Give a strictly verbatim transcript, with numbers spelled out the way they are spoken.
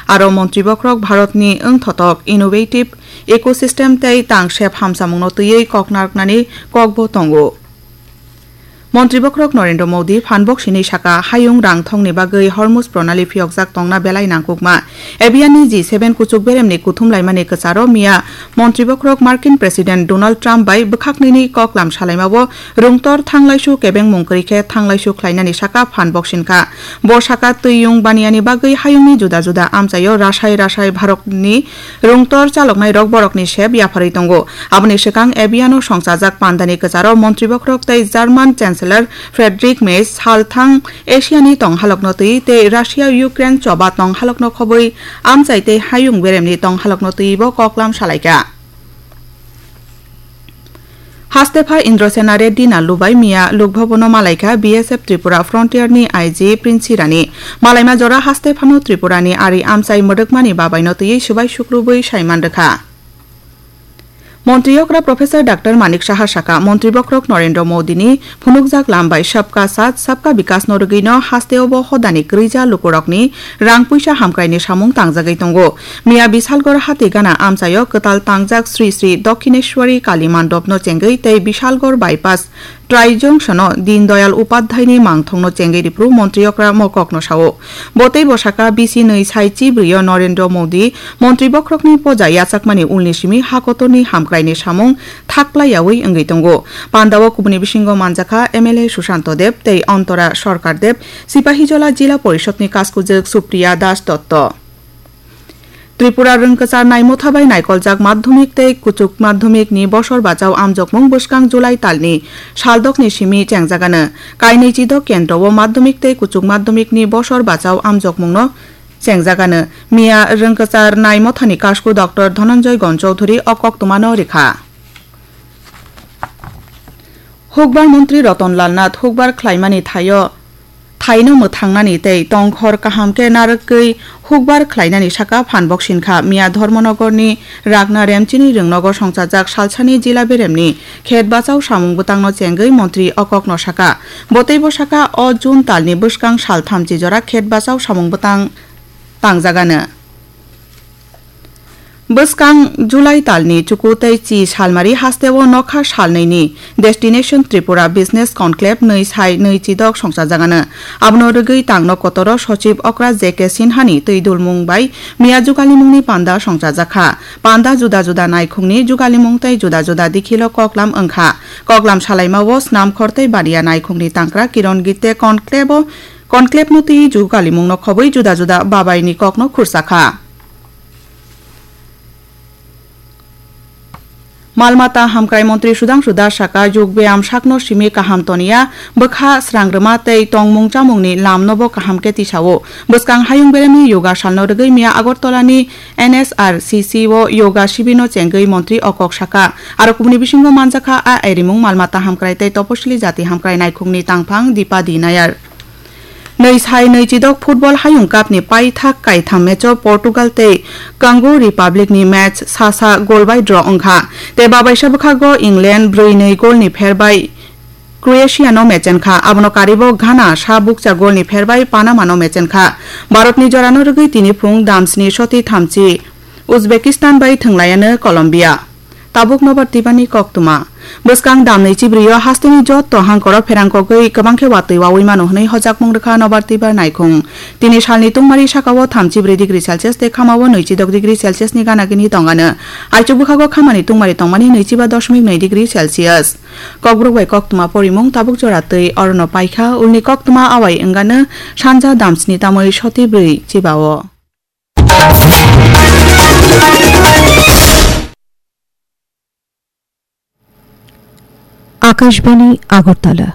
Aro montri bokhorok Bharatni wngthotok innovative ecosystem tei tangsep hamsamungno twiwi kok narwknani kokbo tongo. Montri bokhorok Narendra Modi phan boksini saka, hayung rang thongni bagwi Hormuz Pranali phiyokjak tongna belai nangkukma. Abiyanni G seven kuchuk beremni kuthum laimani kwcharo miya montri bokhorok Markin President Donald Trump bai bwkhaknwini koklam salaimao rungtor thanglaisu kebengmung kwrwi khe thanglaisu khlainani saka phan boksin kha. Bo saka twiyung baniyani bagwi hayungni juda juda amchaio rasai rasai Bharatni rungtor chaloknairok borokni sep yapharwi tongo. Aboni swkang Abiano songchajak pandani kwcharo montri bokhorok tei German Chancellor Friedrich Merz salthang Asiani tonghalokno twi tei Russia-Ukraine choba tonghalokno khobwi amchai tei hayung beremni tonghalokno twibo koklam salaikha. Hastepha Indrasena Reddy Nallu bai miya Lok Bhabono malaikha B S F Tripura Frontier ni I G Prince Hirani. Malaima jora hastephano Tripura ni ari amchai mwdwkmani babaino twiwi swbai sukrubwi saiman rwkha. Montri okra Professor Doctor Manik Saha saka, montri bokhorok Narendra Modi ni phunukjak lam bai Sabka Saath, Sabka Vikas no rwgwino hasteo bo hodani kwrwija lukurokni rang puisa hamkraini samung tangjagwi tongo. Miya Bisalgor hati gana amchaio kwtal tangjak Sri Sri Dakshineshwari Kali Mandop no chengwi tei Bisalgor bypass Trai Junction o Deen Dayal Upadhyay ni mangthong no chengwi ripru montri okra mokok no sao. Bo tei bosaka bisi nwi sai chibrio Narendra Modi montri bokhorokni poja yachakmani ulni simi hakotorni hamkraini samung thaklaiyawi wngwi tongo. Pandao kubuni bisingo manjakha M L A Sushanto Deb tei Ontora Sarkar Deb, Sipahijola Jila Porishod ni kaskujwk Supriya Das Dotto. Tripura rwngkwchar naimotha bai naikoljak madhyamik tei kuchuk madhyamik ni bosor bachao amjokmung bwskang July talni saldokni simi chengjagano. Kainwi chidok kendro o madhyamik tei kuchuk madhyamik ni bosor bachao amjokmung no chengjagano. Miya rwngkwchar naimothani kasku Doctor Dhananjay Gon Chowdhury o koktwmano rikha. Hukbar montri Ratan Lal Nath hukbar khlaimani thaio, thaino mwthangnani tei tongkhor kaham khe narwgwi hukbar khlainani saka phan boksin kha. Miya Dharmanagarni Ragna Remchini Rwngnogo songchajak salsani jila beremni khet bachao samung bwtangno chengwi montri o kokno saka. Bo tei bo saka o June talni bwskang sal thamchi jora khet bachao samung bwtang tangjagano. Bwskang July talni chuku tei chi salmari hasteo nokha salnwini Destination Tripura Business Conclave nwi sai nwi chidok songchajagano. Abono rwgwi tangno kotoro Sochib Okra J K Sinhani twi dulmung bai miya jugalimungni panda songchajakha. Panda juda juda naikhungni jugalimung tei juda juda dikhilo koklam wngkha. Koklam salaimao Snamkhor tei Baniya naikhungni tangkra Kiron Gitte Conclave-o Conclave-no twi jugalimungno khobwi juda juda babaini kokno khursa kha. Mal mata hamkrai montri Sudhangshu Das saka, yog beyam sakno simi kaham toniya, bwkha srangrwma tei tongmung chamungni lamnobo kaham khe tisao. Bwskang hayung beremni yoga salno rwgwi miya Agartala ni N S R C C o yoga sibirno chengwi montri o kok saka. Aro kubuni bisingo manjakha a airimung mal mata hamkrai tei toposili jati hamkrai naikhungni tangphang Dipadi Nayar. Nwi sai nwi chidok football hayung cup ni paithak kaitham match o Portugal tei Congo Republic ni match sa sa goal bai draw wngkha. Tei babaisa bwkhago England brwi nwi goal ni pher bai Croatia no mechen kha. Abono karibo Ghana sa bukcha goal ni pher bai Panama no mechen kha. Bharat ni jora no rwgwi tini phung dam sni soti thamchi Uzbekistan bai thwnglaiyano Colombia. Tabuk nobar twibani koktwma. Bwskang damni chibrio hasteni jotto hangkoro pherang kogwi kwbang khe watwi wawi mano hwnwi hojakmung rwkha nobar twibar naikhung. Tini salni tungmari sakao thamchi bwrwi degree Celsius tei khamao nwi chidok degree Celsius ni gana gini tongano. Aichuk bwkhago khamani tungmari tongmani nwi chiba dosmik nwi degree Celsius. Kokborok bai koktwma porimung tabuk jora twi orono paikha ulni koktwma awai wngano sanja damsni tamwi soti bwrwi chibao. Akashbani Agartala.